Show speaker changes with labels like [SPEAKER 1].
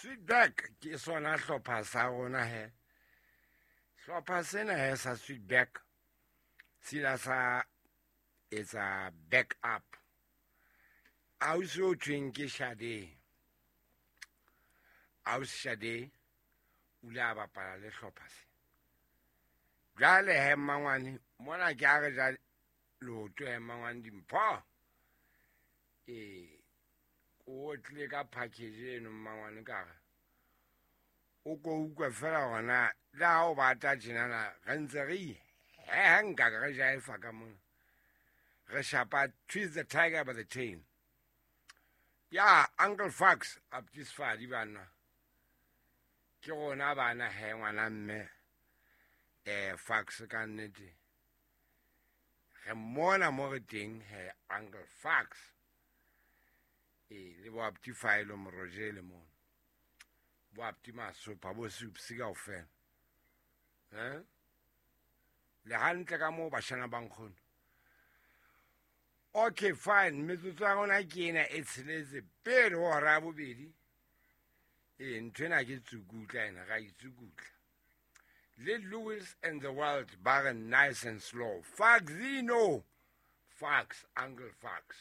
[SPEAKER 1] Sweetback ke sona hlopha sa rona he. Hlopha sena he sa Sweetback se ile sa etsa back up. Ausi o thweng ke Shade. Ausi Shade o ile a bapala le hlopha se. Jwale he mmangwane mona ke a re ja leoto he mmangwane dimpho. Ee, o tlile ka package eno mmangwane ka re o ko utlwe fela gona le ha o bata tjenana re ntse re iheha nka re jaefa ka mona re shapa twist the tiger by the tail. Ya Uncle Fax Aptisfadi bana ke rona bana he ngwana mme Fax ka nnete re mmona mo re teng he Uncle Fax le bo Apti Filo Morojele mono bo Apti Masopha bo Supsi kaofela le hantle ka moo bashana ba nkgono. Okay, fine. Metsotso ya rona ke ena e tsheletse pele ho hora ya bobedi. Ee, ntho ena ke tsukutla ena, ra itsukutla. Le Lewis and the World ba re nice and slow. Faxino. Fax, Uncle Fax.